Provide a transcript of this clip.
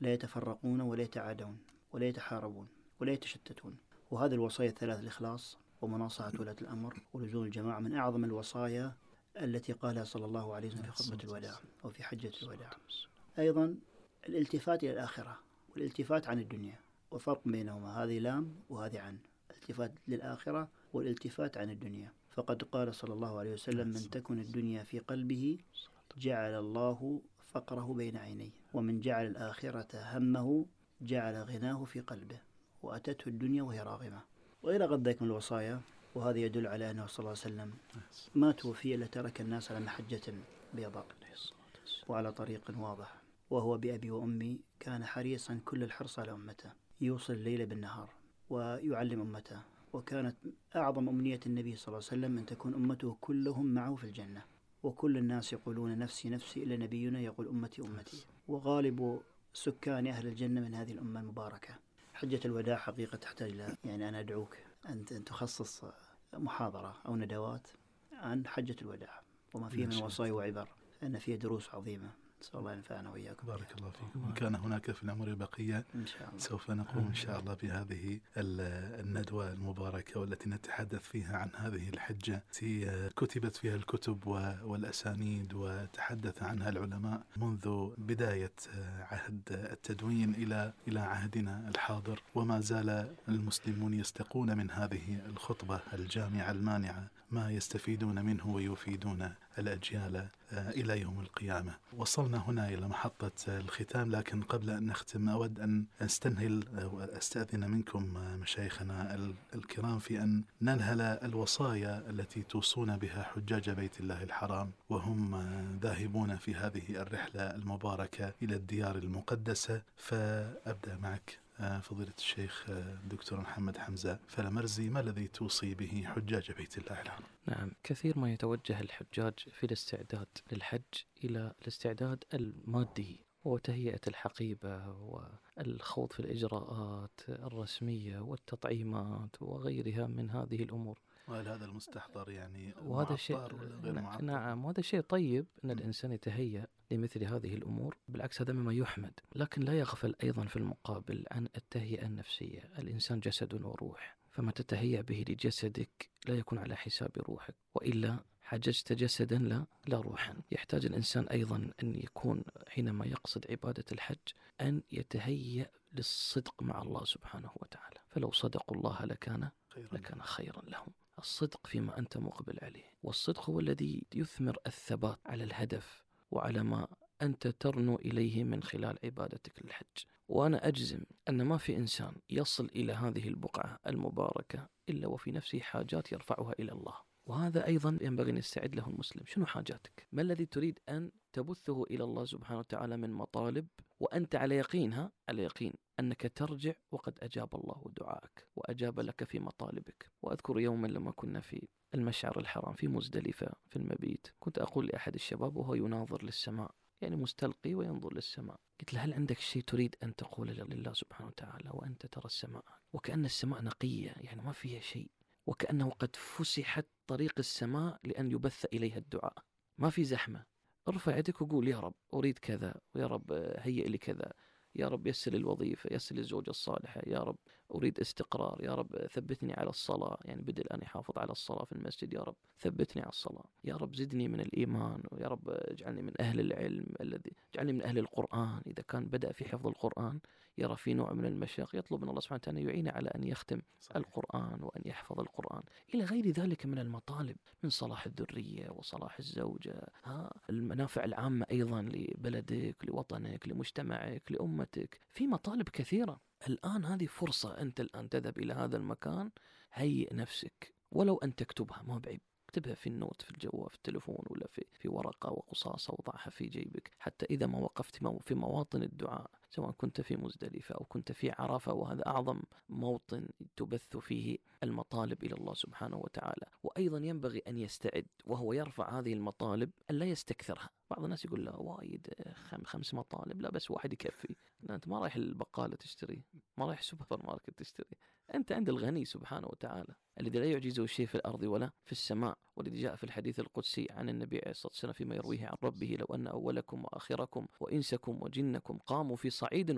لا يتفرقون ولا يتعادون ولا يتحاربون ولا يتشتتون. وهذه الوصايا الثلاث: الإخلاص ومناصحة ولاة الأمر ولزوم الجماعة، من أعظم الوصايا التي قالها صلى الله عليه وسلم في خطبة الوداع أو في حجة الوداع. أيضا الالتفات إلى الآخرة والالتفات عن الدنيا، وفرق بينهما، هذه لام وهذه عن، الالتفات للآخرة والالتفات عن الدنيا. فقد قال صلى الله عليه وسلم: من تكن الدنيا في قلبه جعل الله فقره بين عينيه، ومن جعل الآخرة همه جعل غناه في قلبه، وأتته الدنيا وهي راغمة. وإلى غير ذلك من الوصايا. وهذا يدل على أنه صلى الله عليه وسلم ما توفي إلا ترك الناس على محجة بيضاء وعلى طريق واضح، وهو بأبي وأمي كان حريصا كل الحرص على أمته، يوصل الليل بالنهار ويعلم أمته. وكانت أعظم أمنية النبي صلى الله عليه وسلم أن تكون أمته كلهم معه في الجنة. وكل الناس يقولون نفسي نفسي إلا نبينا يقول أمتي أمتي. وغالب سكان أهل الجنة من هذه الأمة المباركة. حجة الوداع حقيقة تحتاج إلى، يعني أنا أدعوك أن تخصص محاضرة أو ندوات عن حجة الوداع وما فيه من وصايا وعبر، أن فيه دروس عظيمة. نسأل الله ينفعنا وإياكم. بارك الله فيكم. وإن كان هناك في الأمر بقية إن شاء الله سوف نقوم إن شاء الله بهذه الندوة المباركة، والتي نتحدث فيها عن هذه الحجة التي كتبت فيها الكتب والأسانيد وتحدث عنها العلماء منذ بداية عهد التدوين إلى عهدنا الحاضر. وما زال المسلمون يستقون من هذه الخطبة الجامعة المانعة ما يستفيدون منه ويفيدون الأجيال إلى يوم القيامة. وصلنا هنا إلى محطة الختام، لكن قبل أن نختم أود أن أستأذن منكم مشايخنا الكرام في أن ننهل الوصايا التي توصون بها حجاج بيت الله الحرام وهم ذاهبون في هذه الرحلة المباركة إلى الديار المقدسة. فأبدأ معك فضيلة الشيخ دكتور محمد حمزة فلمرزي، ما الذي توصي به حجاج بيت الله الحرام؟ نعم، كثير ما يتوجه الحجاج في الاستعداد للحج إلى الاستعداد المادي وتهيئة الحقيبة والخوض في الإجراءات الرسمية والتطعيمات وغيرها من هذه الأمور. وهل هذا المستحضر يعني وهذا شيء نعم، وهذا شيء طيب أن الإنسان يتهيأ لمثل هذه الأمور، بالعكس هذا مما يحمد. لكن لا يغفل أيضا في المقابل عن التهيئة النفسية. الإنسان جسد وروح، فما تتهيأ به لجسدك لا يكون على حساب روحك، وإلا حججت جسدا لا روحا. يحتاج الإنسان أيضا أن يكون حينما يقصد عبادة الحج أن يتهيأ للصدق مع الله سبحانه وتعالى. فلو صدقوا الله لكان خيرا لهم. الصدق فيما أنت مقبل عليه، والصدق هو الذي يثمر الثبات على الهدف وعلى ما أنت ترنو إليه من خلال عبادتك للحج. وأنا أجزم أن ما في إنسان يصل إلى هذه البقعة المباركة إلا وفي نفسه حاجات يرفعها إلى الله. وهذا أيضا ينبغي أن يستعد له المسلم. شنو حاجاتك؟ ما الذي تريد أن تبثه إلى الله سبحانه وتعالى من مطالب، وأنت على يقين أنك ترجع وقد أجاب الله دعائك وأجاب لك في مطالبك. وأذكر يوما لما كنا في المشعر الحرام في مزدلفة في المبيت، كنت أقول لأحد الشباب وهو يناظر للسماء، يعني مستلقي وينظر للسماء، قلت له: هل عندك شيء تريد أن تقول لله سبحانه وتعالى وأنت ترى السماء وكأن السماء نقية، يعني ما فيها شيء، وكأنه قد فسحت طريق السماء لأن يبث إليها الدعاء، ما في زحمة. ارفع يدك وقول: يا رب أريد كذا، ويا رب هيئ لي كذا، يا رب يسر الوظيفة، يسر الزوجة الصالحة، يا رب أريد استقرار، يا رب ثبتني على الصلاة، يعني بدل أن يحافظ على الصلاة في المسجد، يا رب ثبتني على الصلاة، يا رب زدني من الإيمان، ويا رب اجعلني من أهل العلم اجعلني من أهل القرآن. إذا كان بدأ في حفظ القرآن يرى في نوع من المشاق، يطلب من الله سبحانه وتعالى أن يعينه على أن يختم القرآن وأن يحفظ القرآن، إلى غير ذلك من المطالب، من صلاح الذرية وصلاح الزوجة، المنافع العامة أيضا لبلدك، لوطنك، لمجتمعك، لأمتك. في مطالب كثيرة. الآن هذه فرصة، أنت الآن تذهب إلى هذا المكان، هيئ نفسك، ولو أن تكتبها ما بعيب، اكتبها في النوت في الجوال في التلفون ولا في ورقة وقصاصة وضعها في جيبك، حتى إذا ما وقفت في مواطن الدعاء، سواء كنت في مزدلفة أو كنت في عرفة، وهذا أعظم موطن تبث فيه المطالب إلى الله سبحانه وتعالى. وأيضا ينبغي أن يستعد وهو يرفع هذه المطالب أن لا يستكثرها. بعض الناس يقول: لا وايد 5 مطالب، لا بس واحد يكفي. لا، أنت ما رايح البقالة تشتري، ما رايح سوبر ماركت تشتري، أنت عند الغني سبحانه وتعالى الذي لا يعجزه شيء في الأرض ولا في السماء، والذي جاء في الحديث القدسي عن النبي عليه الصلاة والسلام فيما يرويه عن ربه: لو أن أولكم وآخركم وإنسكم وجنكم قاموا في صعيد